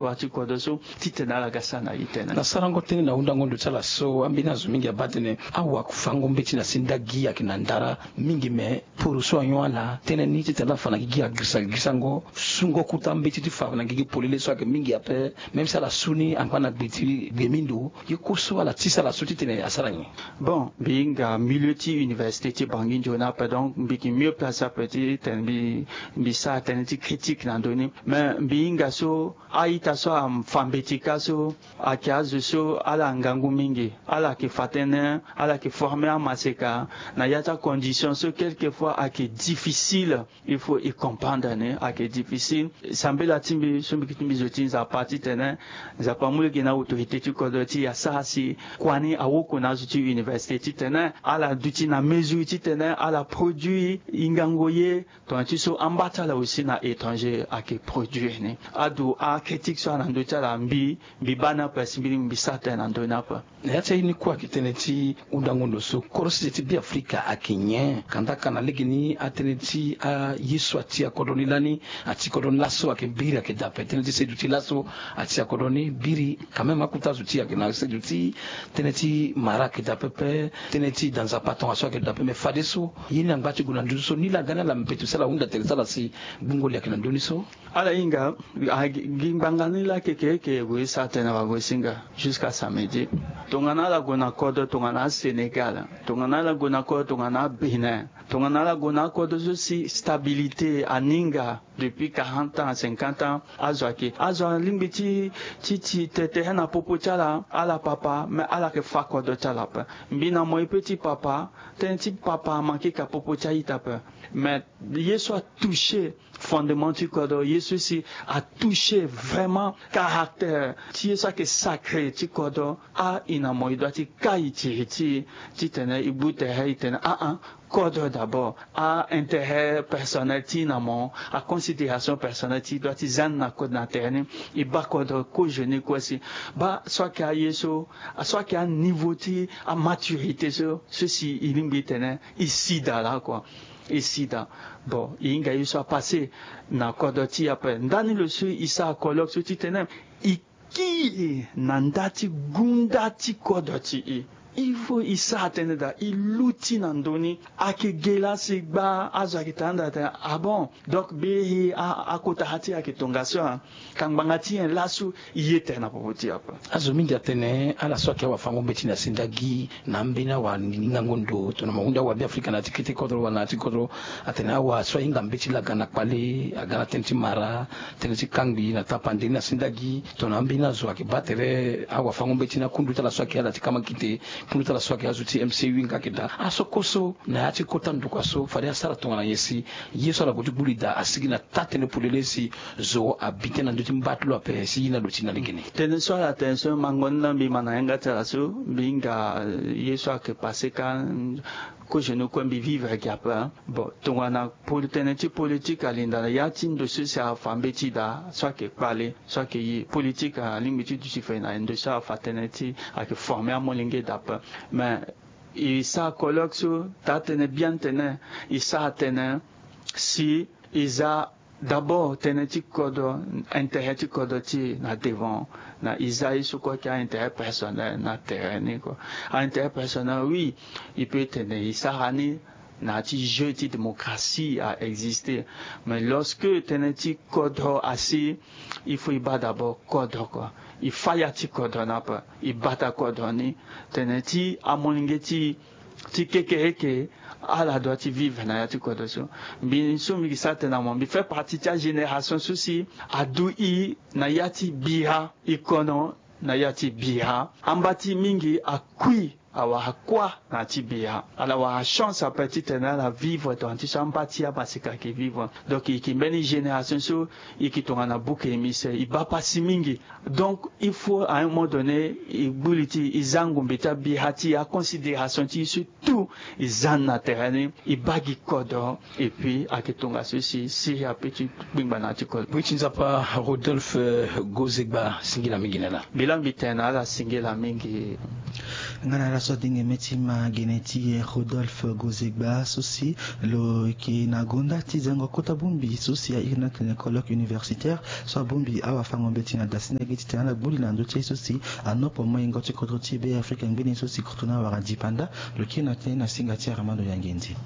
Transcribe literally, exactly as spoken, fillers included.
wâ ti kodro so titene ala ga sara na e tënë. Na sarango tënë na hundango ndo ti ala so, ambeni azo mingi abaa tënë awafango mbeti na sendagi ayeke na ndara mingi, me poro so anyon ala tënë ni titene ala fa na gigi agirisa girisango sungo kota mbeti ti fa na gigi polele so ayeke mingi ape. Même si ala su ni angba na gbe ti gbe mi ndo, ye kue so ala tisa ala so titene asara nyen? Bon, mbi hinga milieu ti université ti Bangui nzoni ape, donc mbi yeke mieux placé ape titene mbi mbi sara tënë ti critique na ndö ni. Mais mbi hinga so a-ita so afa mbeti kâ so ayeke azo so ala ngangu mingi, ala yeke fa tënë, ala yeke former amaseka na ya ti acondition so quelquefois ayeke difficile. Il faut e comprendre ni ayeke difficile. Sambela ti mbi so mbi yeke ti mbi zo ti Nzapa titene Nzapa amu lege na autorité ti kodro ti e asara si kua ni awoko na azo ti université titene ala duti na mesure titene ala produit e ngangu ye. Tongana ti so amba ti ala aussi na étranger ayeke produire ni. Adu acritique so ala na ndö ti ala, mbi mbi baa ni ape si mbi lingbi mbi sara tënë na ndö ni ape. Na ya ti aye ni kue ayeke tënë ti hundango ndo so kodro sese ti Beafrika ayeke nyen? Kandaka na legeni atënë ti aye so atia kodro ni lani, ati kodro ni laso ayeke biri ayeke daa ape. Tënë ti seduti laso atia kodro ni biri, quand même akota zo ti e ayeke na seduti. Tënë ti mara ayeke daa pepe. Tënë ti da nzapa tongaso ayeke daa pepe. Me fadeso ye ni angba ti gue na nduzu so ni laa ga ni ala mbeto si ala hunda tere ti ala si gbungo li ayeke na ndö ni so. Ala hinga, a gi gi ngbanga ni laa keke eke e gue e sara tënë na wagosinga jusqu'à samedi. Tongana ala gue na kodro tongana aSénégal, tongana ala gue na kodro tongana aBénin, tongana ala gue na akodro so si stabilité aninga depuis quarante ans, cinquante ans, azo ayeke azo alingbi ti ti ti te tere na popo ti ala, ala papa, mais ala yeke fâ kodro ti ala ape. Mbi na mo e pe ti papa, tënë ti papa amanke ka popo ti a-ita ape. Mais ye so atouché fondement ti kodro, ye so si atouché vraiment caractère ti ye so ayeke sacré ti kodro, a e na mo e doit ti kai tiri ti e titene e gbu tere e tene aa, kodro d'abord. Aintérêt personnel ti e na mo, aconsidération personnelle ti e doit ti za ni na kodro na tere ni. E baa kodro kozoni kue si baa so ayeke aye so, so ayeke aniveau ti amaturité so, so si e lingbi e tene e si daa laa kua. E si daa. Bon, e hinga ye so apassé na kodro ti e ape. Ndani lo so e sara colloque so titene e kiri na nda ti gunda ti kodro ti e. Il faut e sara tënë daa, e luti na ndö ni. Ayeke ge laa si gba azo ayeke tara nda tene ah bon, donc biri akota ha ti e ayeke tongaso. Ka ngbanga ti nyen laso e ye tere na popo ti e ape? Azo mingi atene ala so ayeke awafango mbeti na sendagi na ambeni awa ngangu ndo tongana mo hunda awa Beafrika na ya ti kete kodro wala na ya ti kodro, atene awa so ahinga mbeti laa aga na kpale, aga na tënë ti mara, tënë ti kangbi na tapande ni na sendagi. Tongana ambeni azo ayeke baa tere awafango mbeti ni akundu ti ala so ayeke ala ti kamakite, kundu ti ala so ayeke azo ti M C U nga ayeke daa. Aso kue so na ya ti kota ndokua so fade asara tongana nyen si ye so ala gue ti gbu li daa asigi na taa-tënë polele si zo abi tënë na ndö ti mba ti lo ape si ye ni aluti na legeni? Tënë so ala tene so mango ni laa mbi ma na yanga ti ala so, mbi hinga ye so ayeke passé ka. Kozoni kue mbi vivre gi ape. Bon, tongana poli tënë ti politique alinda na ya ti ndo so si afa mbeti daa so ayeke kpale, so ayeke ye politique alingbi ti duti fe na ndo so afa tënë ti ayeke former amolenge daa ape. Mais e sara colloque so taa-tënë biani tene e sara tënë si e za d'abord tënë ti kodro, intérêt ti kodro ti e na devant, na e za ye so kue ayeke aintérêt personnel na tere ni kua. Aintérêt personnel oui, e peut tene e sara ni na ya ti jeu ti démocratie a existé. Mais lorsque tënë ti kodro asi, il faut e baa d'abord kodro kua. E fâ ya ti kodro ni ape, e bata kodro ni. Tënë ti amolenge ti ti kekereke, ala doit ti vivre na ya ti kodro so. Mbi so mbi yeke sara tënë na mo, mbi fait partie ti agénération so si adu e na ya ti bira, e kono na ya ti bira. Amba ti e mingi akui, awara kuâ na ya ti bira. Ala wara chance ape titene ala vivre tongana ti so amba ti amaseka ayeke vivre. Donc e yeke mbeni génération so e yeke tongana bouc émissaire, e baa pasi mingi. Donc il faut à un moment donné e gbu li ti e, e za ngombe ti abira ti e, aconsidération ti e surtout e za ni na tere ni, e baa gi kodro. Et puis ayeke tongaso si siri ape ti kpengba na ya ti kodro. Bui ti nzapa Rodolphe, eh, Gozegba, singila mingi na ala. Mbi laa mbi tene na ala singila mingi. Nga na ala so adenge meti ma gene ti e Rodolphe Gozegba so si lo yeke na gonda ti zango kota bongbi so si airi na tene colloque universitaire so abongbi awafango mbeti na dasi na gi ti tene ala gbuli na ndö ti e so si anopo moyengo ti kodro ti e Be Afrika ngbeni so si kotro na wara dipanda. Lo kiri na tene na singa ti Armando Yangendi.